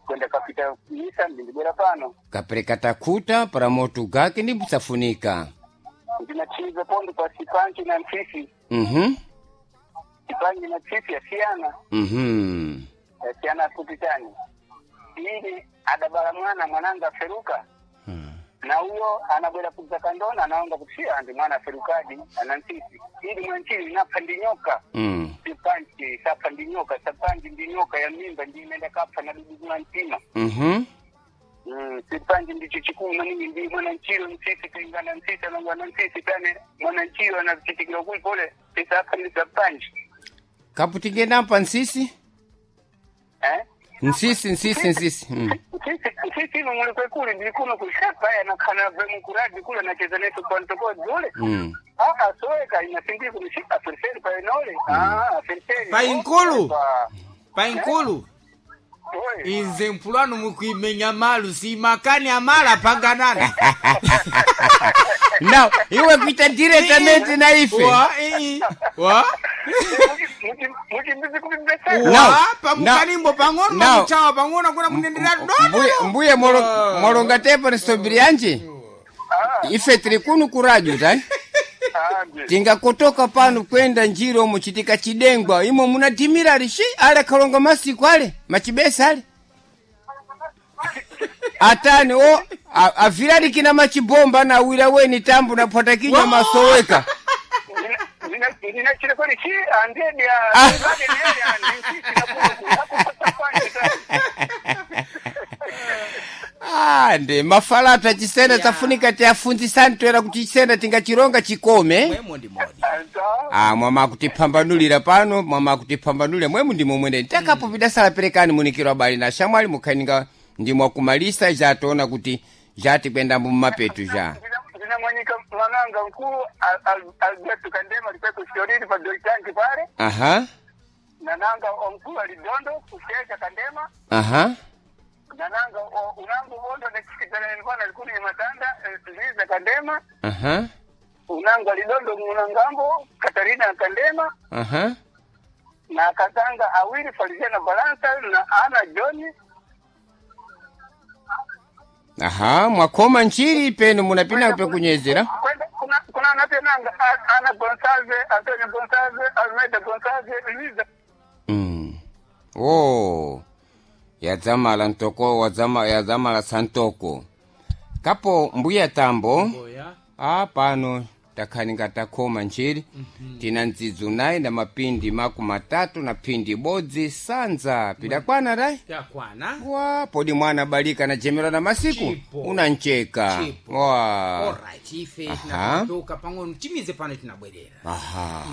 Kwenda kapita misa ndindibwera pano. Kapereka takuta para moto gake ndi msafunika. Ndinachiza pondo pa sipanji na mfisi. Sipanji na mfisi yasiyana. Yasiyana kupitani. Ili adabala mwana mwananga aferuka. Na uyo anabwera kudza kandona anaonga kuti andi mwana aferukadi ana mfisi. Ili mwanchili napha ndinyoka. Sipanji sapha ndinyoka sapanji ndinyoka ya mimba ndimenda kapha na dudu mwa mtima. Sipanji ndicho chikulu maningi ndi mwana nchiro msisi tuingana msisi anangwana msisi tane mwana nchiro anachitikira kuli pole tisapha ndi sapanji. Kapu tingendampa nsisi? Eh? Nsisi nsisi nsisi. Sisi ino muli kwekuli ndili kuno kushapa ya nakhana vwe mukuradi kule nacheza netu kwantokodzi ule. Ah, soeka inasindiki kumshika ferseri pa enole. Ah, ferseri. Pa inkulu? Pa. Painkulu Oi. inze mpulano mukuimenya malu simakani amala panganana. Now, iwe kuita diretamente na ife. Wa ii wa Muchimbizi kumbesera. Now, wa pamukanimbo pang'ono now. pamuchawa pang'ono kuna munendera Mbuye, dodo. mbuye molonga tepo nisobiri yanje. Ife tiri kunu kuradio tai. Tingakotoka pano kwenda njiro muchitika chidengwa imo munatimira rishi ale kalonga masiku ale machibesa ale atani o avirali machibomba na wira weni tambu na phwata kinywa Wa! masoweka. Ndinachira kwani chi andedi ya ndedi ya ndisi na kuno kupata Ah, ndi mafalata chisena Yeah. tafunika tiafunzisani toera kuti chisena tingachironga chikome. Mwemo ndi modi. Ah, mwama kutiphambanulira pano, mwama kutiphambanulira mwemu ndimo mwene takapo pidasala perekani munikiro abali na shamwali mukhaninga ndimwakumalisa jatoona kuti jati kwenda mummapetu ja. Ndinamwanyika mwananga mkulu Alberto Kandema alikuwa kushoriri pa Doitanki pale. Aha, Nananga omkulu alidondo kushesha Kandema. aha. Nananga unangu bondo nekisikitana nilikuwa nalikuni matanda Liza Kandema. Aha, Unangu alidondo munangambo Katarina Kandema. aha. Na akatanga awili Feliciana Balansa na Ana John. Aha, mwakoma nchiri penu munapina pekunyezera. Kwenda kuna anatenanga Ana Gonsalves, Antonio Gonsalves, Almeida Gonsalves, Luiza. Oh. Yadzamala ntoko wadzama yadzamala santoko. Kapo mbuya tambo. Mboya. A pano takhaninga takhoma nchiri. Tina ndzidzu nayi na mapindi 30 na phindi bodzi sanza pidakwana rai. Yakwana. Wa podi mwana balika na jemera na masiku Chipo. unancheka. Chipo. Wa. Alright, ife Aha. tinatoka pang'ono timize pano tinabwerera. Aha.